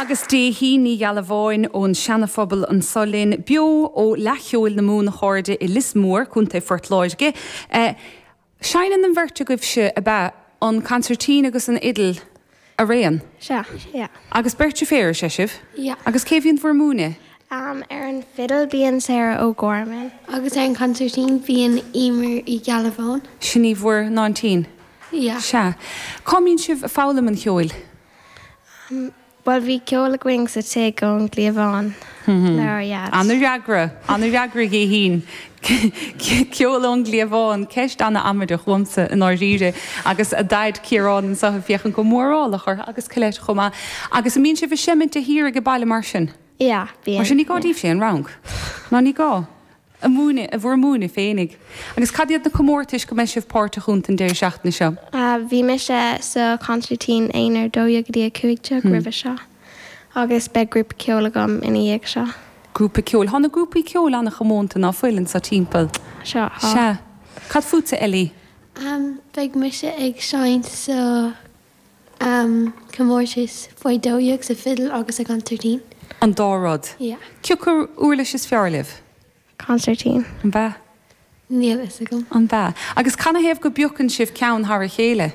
agus Déithín Ní Ghealbháin ón Seana-Phobal anso linn, beo ó Fhleadh Cheoil na Mumhan a chairde i Lios Mór, Contae Phort Láirge. Seinneann an bheirt agaibhse, ab ea, an consairtín agus an fhidil araon? Sea, yeah. Agus beirt deirféar is ea sibh? Yeah. Agus cé a bhíonn bhur múineadh? Ar an bhfidil bíonn Sarah O'Gorman. Agus ar an consairtín bíonn Emer Uí Ghealbháin. Sin í bhur n-aintín? Yeah. Sea. Cá mbíonn sibh ag foghlaim an cheoil? Bhuel, bhí ceol againn sa tigh ón gcliabhán le ár dhaid. Ana-fhreagra, ana-fhreagra a Dhéithín. Ceol ón gcliabhán, ceist ana-amaideach uaimse i ndáiríre. Agus a daid Ciarán anseo ag féachaint go mórálach orthu agus Colette chomh maith. Agus an mbíonn sibh ag seimint de shíor ag baile mar sin? Yeah, bíonn. Mar sin ní gá daoibhse aon rang. Ná ní gá. A múineadh, bhur múineadh féinig. Agus cad iad na comórtais go mbeidh sibh páirteach iontu an deireadh seachtaine seo? Bhí mise sa consairtín aonair 12 go dtí 15 roimhe seo agus beidh grúpa ceoil agam ina dhiaidh seo. Grúpa ceoil. Tá na grúpaí ceoil an-chomónta, ná fuil, anseo timpeall? Sea, tá. Sea. Cad fútsa, Ellie? Beidh mise ag seinnt sa comórtas faoi 12 sa fidil agus sa consairtín. An dá rud? Yeah. Cé acu uirlis is fearr libh? Consairtín. An b'ea? Níl fhios agam. An b'ea? Agus canathaobh go bpiocann sibh ceann thar a chéile?